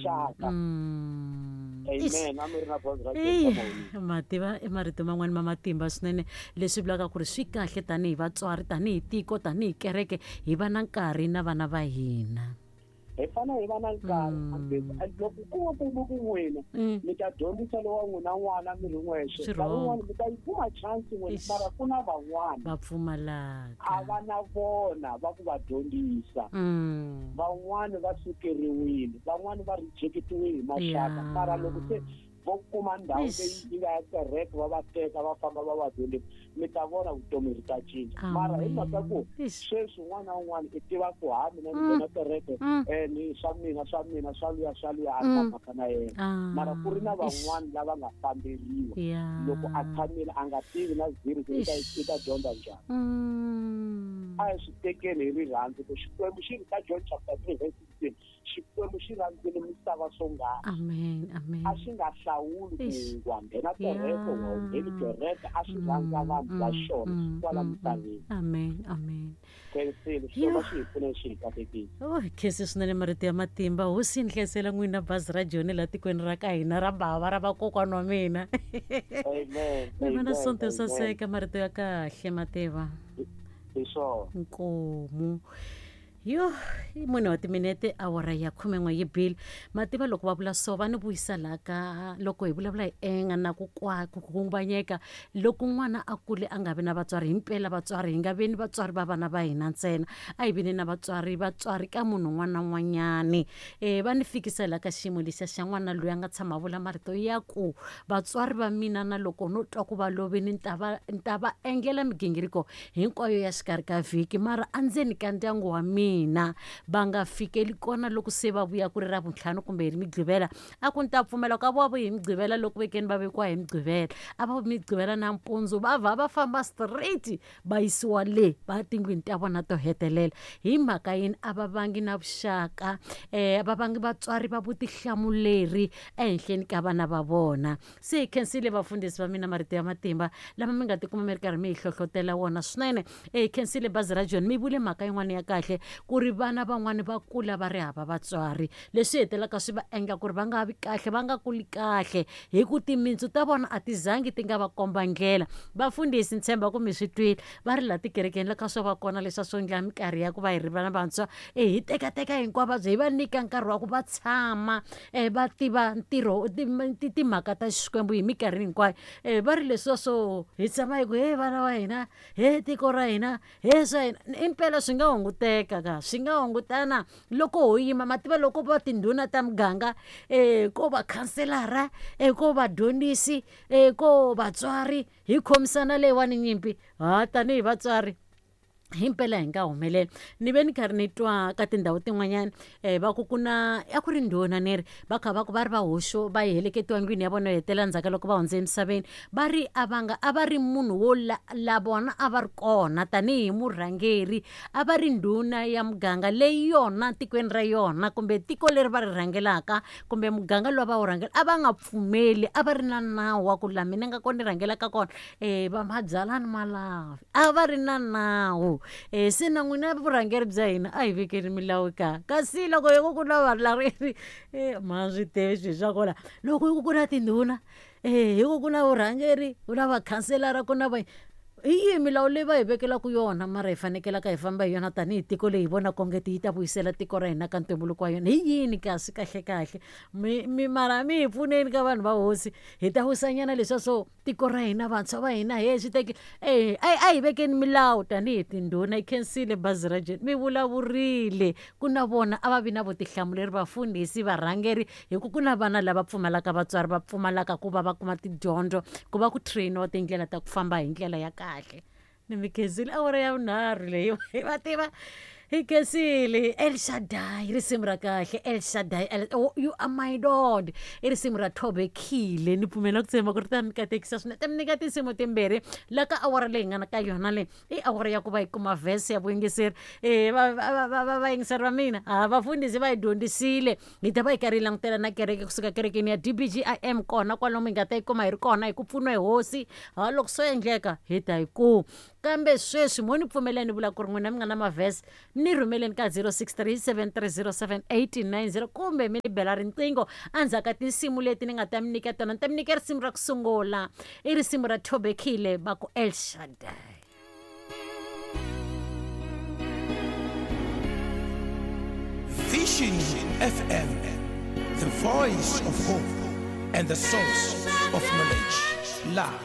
Xaka. Amen. A mi ri na bazi ra Eyi, mativa i marito man'wani ma matimba swinene, leswi vulaka ku ri swi kahle tanihi vatswari, tanihi tiko, tanihi kereke, hi va na nkarhi na vana va hina. Hi fanele hi va na nkarhi. And loko ku va ku ku n'wina mi ta dyondzisa lowa n'wina n'wana mi ri n'wexe, Swi nkarhi wrong. wun'wani mi ta yi kuma chance n'wina, Eish. mara ku na van'wana va pfumalaka, a va na vona va ku va dyondzisa. Van'wani va sukeriwile, van'wani va rejectiwile hi maxaka, mara loko se vo kuma ndhawu Eish. leyi yi nga ya kereke, va va teka va famba va va dyondzisa, mi ta vona vutomi ri ta cinca. Mara hi mhaka ku Eish. sweswi un'wana na un'wana i tiva ku ha mina ni nghena kereke, ni swa mina, swa mina, swa luya, swa luya, a ri na mhaka na yena. Mara ku ri na Eish. van'wani lava nga famberiwa, loko a tshamile a nga tivi na zero ku Eish. i ta dyondza njhani. A hi swi tekeni hi rirhandzu ku Xikwembu xi ri ka John chapter 3 verse 16, Xikwembu xi rhandzile misava swonghasi. Amen, amen. A xi nga hlawuli ku Eish. wa nghena kereke, wa wu ngheni kereke, a xi rhandza vanhu va xona kwala misaveni. Amen, amen. Khensile, Xikwembu xi hi pfune, xi hi katekisa. Oh, khensi swinene, marito ya matimba. Hosi yi ni hlayisela n'wina bazi ra Joni laha tikweni ra ka hina ra bava ra vakokwana wa mina. Amen. Mi va na Amen, sonto yo amen. saseka, marito ya kahle mativa. Hi swona. Nkomu. Yo, i mune wa timinete awara ya 11 yi bile. Mativa loko va vula so, va ni vuyisa laha ka loko hi vulavula hi enga na ku kwa ku khunguvanyeka loko n'wana a kule a nga vi na vatswari. Himpela vatswari hi nga veni vatswari va vana va hina ntsena, a hi veni na vatswari, vatswari ka munhu un'wana na un'wanyani. Va ni fikisa laha ka xiyimo lexiya xa n'wana loyi a nga tshama a vula marito ya ku vatswari va mina na loko no twa ku va lovini ni ta va, ni ta va endlela migingiriko hinkwayo ya xikarhi ka vhiki, mara endzeni ka ndyangu wa mina va nga fikeli kona loko se va vuya ku ri Ravuntlhanu kumbe hi ri Migqivela. A ku ni ta pfumela ku a vo vuyi hi Migqivela loko vekeni va vekiwa hi Migqivela, a va vuyi Migqivela nampundzu, va vha va famba straight va yisiwa le va tindlwini ta vona to hetelela. Hi mhaka yini? A va vangi na vuxaka, va vangi vatswari va vutihlamuleri ehenhleni ka vana va vona. Se hi khensile vafundhisi va mina, marito ya matimba lama mi nga tikuma mi ri karhi mi hi hlohlotela wona swinene. Hi khensile bazi ra John, mi vule mhaka yin'wana ya kahle ku ri vana van'wani va kula va ri hava vatswari, leswi hetelelaka swi va endla ku ri va nga vi kahle, va nga kuli kahle, hi ku timintsu ta vona a ti zangi ti nga va komba ndlela. Vafundhisi ni tshemba ku mi swi twile, va ri laha tikerekeni la ka swo va kona leswa swo endla minkarhi ya ku va hi ri vana vantshwa, hi tekateka hinkwavo vabya, hi va nyika nkarhi wa ku va tshama, va tiva ntirho, timhaka ta Xikwembu hi minkarhi hinkwayo. Va ri leswiya swo hi tshama hi ku he vana va hina, he tiko ra hina, he swa hina, impela swi nga hunguteka ka, swi nga hungutana loko ho yima. Mativa loko va tindhuna ta muganga, ko va khanselara, ko vadyondzisi, ko vatswari, hi khomisana leyiwani nyimpi, ha tanihi vatswari himpela hi nga humelela. Ni ve ni karhi ni twa ka tindhawu tin'wanyana, va ku ku na, a ku ri ndhuna ni ri va kha va ku va ri va hoxo va heleketiwa ndlwini ya vona yo hetelela ndzhaku ka loko va hundze emisaveni, va ri a va nga, a va ri munhu wo la, la vona a va ri kona tanihi murhangeri, a va ri ndhuna ya muganga leyi yona tikweni ra yona kumbe tiko leri va ri rhangelaka kumbe muganga lowu va wu rhangela, a va nga pfumeli, a va ri na nawu wa ku laha mina nga kona ni rhangelaka kona, va mabyalani malavi, a va ri na nawu. Se na n'wina vurhangeri bya hina a hi vekeni milawu ka, kasi loko hi ku ku na varhangeri, ma swi tivi swilo swa kona, loko hi ku ku na tindhuna, hi ku ku na vurhangeri, ku na vakhanselara, ku na va, hi yihi milawu leyi va hi vekelaka yona mara hi fanekelaka hi famba hi yona tanihi tiko leyi hi vonaka onge yi ta vuyisela tiko ra hina ka ntumbuluko wa yona? Hi yini kasi kahle kahle? Mi mara mi hi pfuneni ka vanhu va hosi, hi ta wisanyana leswiya swo tiko ra hina, vantshwa va hina, he swi teki, a hi vekeni milawu tanihi tindhuna. Hi khensile bazi ra Joni, mi vulavurile ku na vona a va vi na vutihlamuleri vafundhisi, varhangeri, hi ku ku na vana lava pfumalaka vatswari, va pfumalaka ku va va kuma tidyondzo, ku va ku trainiwa tindlela ta ku famba hi ndlela ya kahle. Ni mi khensile, awara ya vunharhu leyi va tiva hi khensile. El Shaddai, risimu ra kahle. El Shaddai, El, oh, you are my Lord, i risimu ra Thobekile. Ni pfumela ku tshemba ku ri ta mi katekisa swinene, ta mi nyika tinsimu timbirhi la ka awara leyi nga na ka yona leyi i awara ya ku va yi kuma verse ya vuyingiseri. Vayingiseri va mina, ha vafundhisi va hi dyondzisile, hi ta va hi karhi hi langutela na kereke kusuka kerekeni ya DBGIM kona kwalomu hi nga ta yi kuma hi ri kona hi ku pfuniwa hi hosi. Ha loko swo endleka hi ta yi kuma. Kambe sweswi mo ni pfumelela ni vula ku ri n'wina mi nga na mavhese ni rhumeleni ka 0637307890 kumbe mi ni bela riqingho endzhaku ka tinsimu leti ni nga ta mi nyika tona. Ni ta mi nyika risimu ra ku sungula, i risimu ra Thobekile va ku El Shaddai. Vision FM, the voice of hope and the source of knowledge. Love.